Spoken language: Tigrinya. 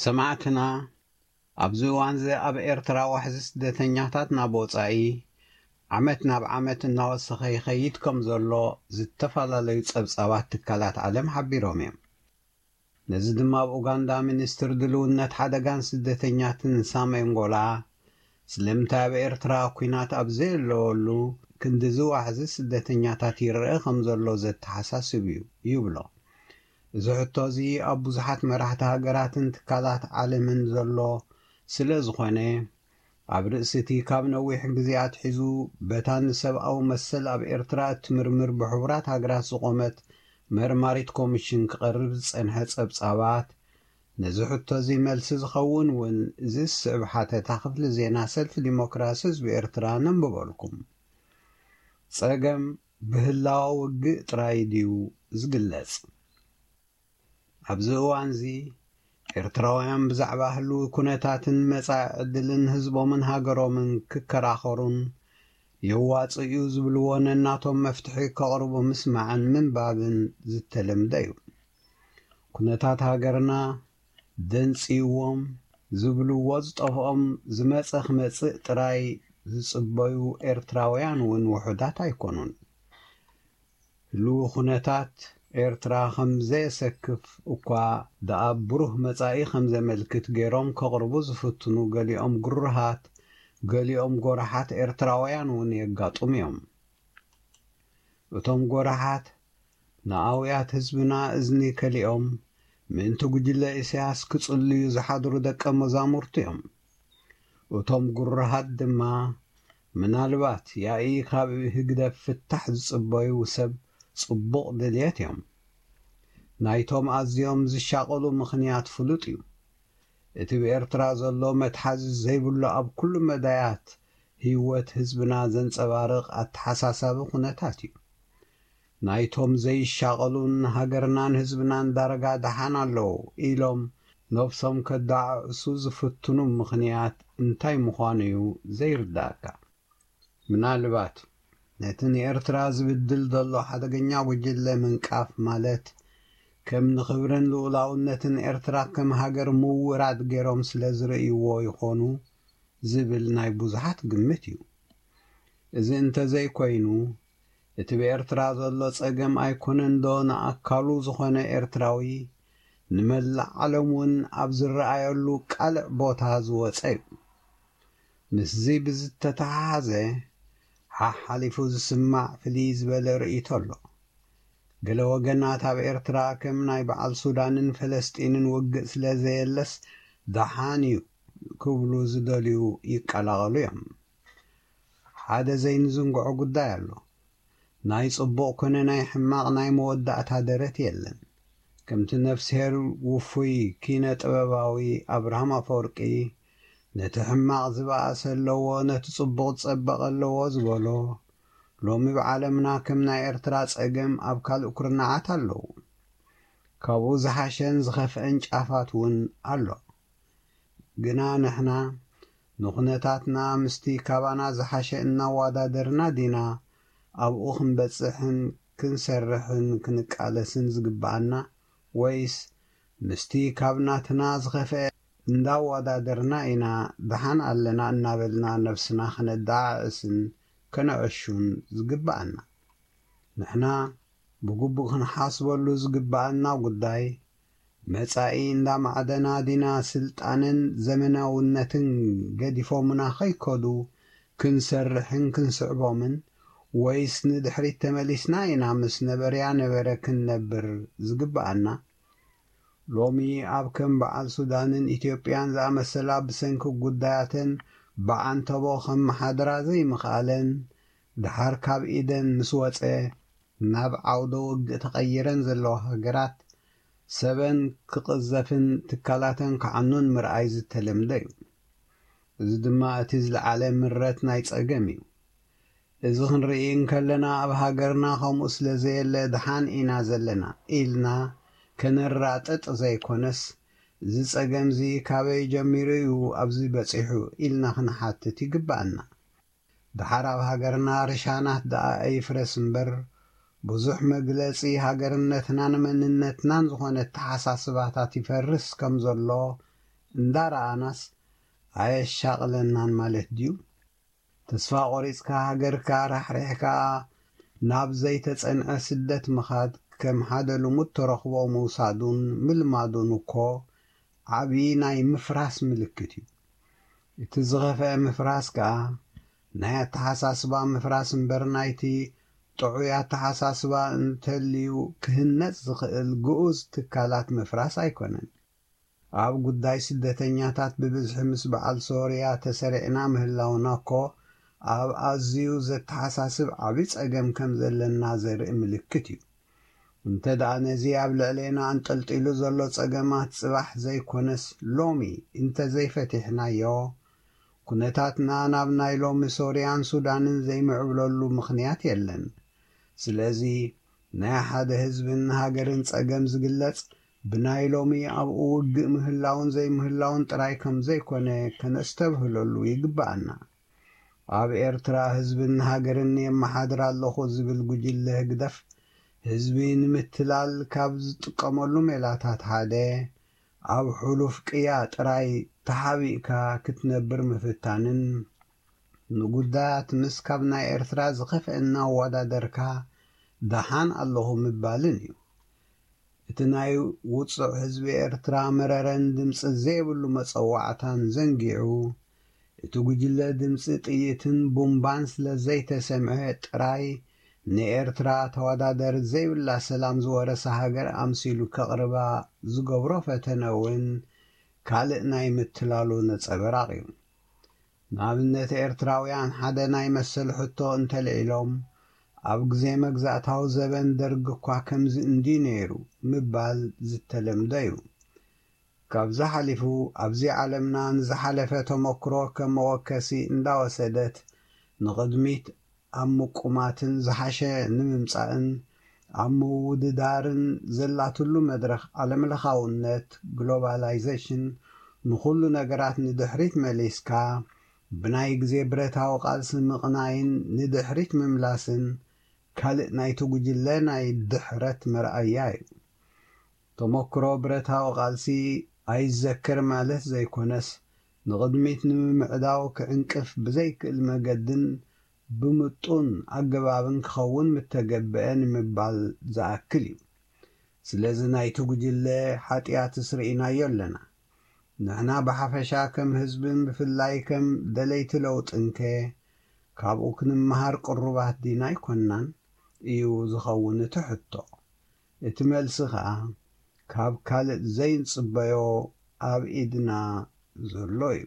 ሰማዕትና፣ ኣብዚ እዋንዚ ኣብ ኤርትራ ዋሕዚ ስደተኛታት ናብ ወጻኢ ዓመት ናብ ዓመት እናወሰኸ ይኸይድ ከም ዘሎ ዝተፈላለዩ ጸብጻባት ትካላት ዓለም ሓቢሮም እዮም። ነዚ ድማ ኣብ ኡጋንዳ ሚኒስትር ድልውነት ሓደጋን ስደተኛትን ሳሜንጎላ ስለምንታይ ኣብ ኤርትራ ኲናት ኣብ ዘየለወሉ ክንድዚ ዋሕዚ ስደተኛታት ይረአ ከም ዘሎ ዘተሓሳስብ እዩ ይብሎ። እዚ ሕቶ እዚ ኣብ ብዙሓት መራሕቲ ሃገራትን ትካላት ዓለምን ዘሎ ስለ ዝኾነ፣ ኣብ ርእሲ እቲ ካብ ነዊሕ ግዜ ኣትሒዙ በታ ንሰብኣዊ መሰል ኣብ ኤርትራ እትምርምር ብሕቡራት ሃገራት ዝቖመት መርማሪት ኮሚሽን ክቐርብ ዝጸንሐ ጸብጻባት፣ ነዚ ሕቶ እዚ መልሲ ዝኸውን እውን እዚ ዝስዕብ ሓተታ ክፍሊ ዜና ሰልፊ ዲሞክራሲ ህዝቢ ኤርትራ ነንብበልኩም። ጸገም ብህላወ ውግእ ጥራይ ድዩ ዝግለጽ? ኣብዚ እዋንዚ ኤርትራውያን ብዛዕባ ህልዊ ኩነታትን መጻኢ ዕድልን ህዝቦምን ሃገሮምን ክከራኸሩን የዋጽእ እዩ ዝብልዎ ነናቶም መፍትሒ ከቕርቡ ምስማዕን ምንባብን ዝተለምደ እዩ። ኩነታት ሃገርና ደንጽይዎም ዝብልዎ ዝጠፍኦም ዝመጸ ክመጽእ ጥራይ ዝጽበዩ ኤርትራውያን እውን ውሑዳት ኣይኮኑን። ህልዊ ኩነታት ኤርትራ ከም ዘየሰክፍ እኳ ደኣ ብሩህ መጻኢ ከም ዘመልክት ገይሮም ከቕርቡ ዝፍትኑ ገሊኦም ግሩሃት፣ ገሊኦም ጎራሓት ኤርትራውያን እውን የጋጥሙ እዮም። እቶም ጎራሓት ንኣውያት ህዝብና እዝኒ ከሊኦም ምእንቲ ጉጅለ ኢሳያስ ክጽልዩ ዝሓድሩ ደቀ መዛሙርቱ እዮም። እቶም ግሩሃት ድማ ምናልባት ያኢ ካብ ህግደፍ ፍታሕ ዝጽበዩ ሰብ ጽቡቕ ድልየት እዮም። ናይቶም ኣዝዮም ዝሻቐሉ ምኽንያት ፍሉጥ እዩ። እቲ ብኤርትራ ዘሎ መትሓዚ ዘይብሉ ኣብ ኩሉ መዳያት ህይወት ህዝብና ዘንጸባርቕ ኣተሓሳሳቢ ኩነታት እዩ። ናይቶም ዘይሻቐሉን ሃገርናን ህዝብናን ዳርጋ ደሓን ኣለዉ ኢሎም ነብሶም ከደዓዕሱ ዝፍትኑ ምኽንያት እንታይ ምዃኑ እዩ ዘይርዳእካ። ምናልባት ነቲ ንኤርትራ ዝብድል ዘሎ ሓደገኛ ጉጅለ ምንቃፍ ማለት ከም ንኽብርን ልኡላውነትን ኤርትራ ከም ሃገር ምውራድ ገይሮም ስለ ዝርእይዎ ይኾኑ ዝብል ናይ ብዙሓት ግምት እዩ። እዚ እንተዘይኮይኑ እቲ ብኤርትራ ዘሎ ጸገም ኣይኮነን ዶ ንኣካሉ ዝኾነ ኤርትራዊ ንመላእ ዓለም እውን ኣብ ዝረኣየሉ ቃልዕ ቦታ ዝወጸ እዩ። ምስዚ ብዝተተሓሓዘ ሓሓሊፉ ዝስማዕ ፍልይ ዝበለ ርእይቶ ኣሎ። ገለ ወገናት ኣብ ኤርትራ ከም ናይ በዓል ሱዳንን ፈለስጢንን ውግእ ስለ ዘየለስ ደሓን እዩ ክብሉ ዝደልዩ ይቀላቐሉ እዮም። ሓደ ዘይንዝንግዖ ጉዳይ ኣሎ። ናይ ጽቡቕ ኮነ ናይ ሕማቕ ናይ መወዳእታ ደረት የለን። ከምቲ ነፍስሄር ውፉይ ኪነ ጥበባዊ ኣብርሃም ኣፈወርቂ ነቲ ሕማቕ ዝበኣሰ ኣለዎ፣ ነቲ ጽቡቕ ዝጸበቐ ኣለዎ ዝበሎ፣ ሎሚ ብዓለምና ከም ናይ ኤርትራ ጸገም ኣብ ካልእ ኩርናዓት ኣለዉ። ካብኡ ዝሓሸን ዝኸፍአን ጫፋት እውን ኣሎ። ግና ንሕና ንኹነታትና ምስቲ ካባና ዝሓሸ እናወዳደርና ዲና ኣብኡ ክንበጽሕን ክንሰርሕን ክንቃለስን ዝግብኣና፣ ወይስ ምስቲ ካብ ናትና ዝኸፍአ እንዳወዳደርና ኢና ደሓን ኣለና እናበልና ነብስና ከነደዓዕስን ከነዐሹን ዝግብኣና? ንሕና ብግቡእ ክንሓስበሉ ዝግብኣና ጉዳይ፣ መጻኢ እንዳማዕደና ዲና ስልጣንን ዘመናውነትን ገዲፎምና ከይከዱ ክንሰርሕን ክንስዕቦምን፣ ወይስ ንድሕሪት ተመሊስና ኢና ምስ ነበርያ ነበረ ክንነብር ዝግብኣና? ሎሚ ኣብ ከም በዓል ሱዳንን ኢትዮጵያን ዝኣመሰላ ብሰንኪ ጉዳያተን ብዓንተቦ ከመሓድራ ዘይምኽኣለን፣ ደሓር ካብ ኢደን ምስ ወጸ፣ ናብ ዓውደ ውግእ ተቐይረን ዘለዋ ሃገራት፣ ሰበን ክቕዘፍን ትካላተን ክዓኑን ምርኣይ ዝተለምደ እዩ። እዚ ድማ እቲ ዝለዓለ ምረት ናይ ጸገም እዩ። እዚ ክንርኢ እንከለና፣ ኣብ ሃገርና ከምኡ ስለ ዘየለ ደሓን ኢና ዘለና ኢልና ከነራጥጥ ዘይኮነስ፣ እዚ ጸገምዚ ካበይ ጀሚሩ እዩ ኣብዚ በጺሑ ኢልና ክንሓትት ይግብኣና። ደሓር ኣብ ሃገርና ርሻናት ደኣ ኣይፍረስ እምበር፣ ብዙሕ መግለጺ ሃገርነትናን መንነትናን ዝኾነ ኣተሓሳስባታት ይፈርስ ከም ዘሎ እንዳረኣናስ ኣየሻቕለናን ማለት ድዩ? ተስፋ ቆሪጽካ ሃገርካ ራሕሪሕካ ናብ ዘይተጸንዐ ስደት ምኻድ ከም ሓደ ልሙድ ተረኽቦ ምውሳዱን ምልማዱን እኮ ዓቢ ናይ ምፍራስ ምልክት እዩ። እቲ ዝኸፍአ ምፍራስ ከኣ ናይ ኣተሓሳስባ ምፍራስ እምበር ናይቲ ጥዑይ ኣተሓሳስባ እንተልዩ ክህነጽ ዝኽእል ግኡዝ ትካላት ምፍራስ ኣይኮነን። ኣብ ጉዳይ ስደተኛታት ብብዝሒ ምስ በዓል ሶርያ ተሰሪዕና ምህላውና እኮ ኣብ ኣዝዩ ዘተሓሳስብ ዓቢ ጸገም ከም ዘለና ዘርኢ ምልክት እዩ። እንተ ደኣ ነዚ ኣብ ልዕሌና ኣንጠልጢሉ ዘሎ ጸገማት ጽባሕ ዘይኮነስ ሎሚ እንተ ዘይፈቲሕናዮ፣ ኩነታትና ናብ ናይ ሎሚ ሶርያን ሱዳንን ዘይምዕብለሉ ምኽንያት የለን። ስለዚ ናይ ሓደ ህዝብን ሃገርን ጸገም ዝግለጽ ብናይ ሎሚ ኣብኡ ውግእ ምህላውን ዘይምህላውን ጥራይ ከም ዘይኮነ ከነስተብህለሉ ይግብኣና። ኣብ ኤርትራ ህዝብን ሃገርን የመሓድር ኣለኹ ዝብል ጉጅለ ህግደፍ ህዝቢ ንምትላል ካብ ዝጥቀመሉ ሜላታት ሓደ ኣብ ሕሉፍ ቅያ ጥራይ ተሓቢእካ ክትነብር ምፍታንን ንጉዳያት ምስ ካብ ናይ ኤርትራ ዝኸፍአ እናወዳደርካ ደሓን ኣለኹ ምባልን እዩ። እቲ ናይ ውጹዕ ህዝቢ ኤርትራ መረረን ድምጺ ዘይብሉ መጸዋዕታን ዘንጊዑ፣ እቲ ጉጅለ ድምጺ ጥይትን ቡምባን ስለ ዘይተሰምዐ ጥራይ ንኤርትራ ተወዳደሪ ዘይብላ ሰላም ዝወረሳ ሃገር ኣምሲሉ ከቕርባ ዝገብሮ ፈተነ እውን ካልእ ናይ ምትላሉ ነጸበራቕ እዩ። ንኣብነት ኤርትራውያን ሓደ ናይ መሰል ሕቶ እንተልዒሎም ኣብ ግዜ መግዛእታዊ ዘበን ደርግ እኳ ከምዚ እንዲ ነይሩ ምባል ዝተለምደ እዩ። ካብዚ ሓሊፉ ኣብዚ ዓለምና ንዝሓለፈ ተመክሮ ከም መወከሲ እንዳወሰደት ንቕድሚት ኣብ ምቁማትን ዝሓሸ ንምምጻእን ኣብ ምውድዳርን ዘላትሉ መድረኽ ዓለምለኻውነት ግሎባላይዜሽን ንኹሉ ነገራት ንድሕሪት መሊስካ ብናይ ግዜ ብረታዊ ቃልሲ ምቕናይን ንድሕሪት ምምላስን ካልእ ናይቲ ጉጅለ ናይ ድሕረት መርኣያ እዩ። ተመክሮ ብረታዊ ቃልሲ ኣይዘክር ማለት ዘይኮነስ ንቕድሚት ንምምዕዳው ክዕንቅፍ ብዘይክእል መገድን ብምጡን ኣገባብን ክኸውን ምተገብአ ንምባል ዝኣክል እዩ። ስለዚ ናይቲ ጉጅለ ሓጢኣትስ ርኢናዮ ኣለና። ንሕና ብሓፈሻ ከም ህዝብን ብፍላይ ከም ደለይቲ ለውጥንከ ካብኡ ክንመሃር ቅሩባት ዲና ኣይኮንናን እዩ ዝኸውን እቲ ሕቶ። እቲ መልሲ ኸኣ ካብ ካልእ ዘይንጽበዮ ኣብ ኢድና ዘሎ እዩ።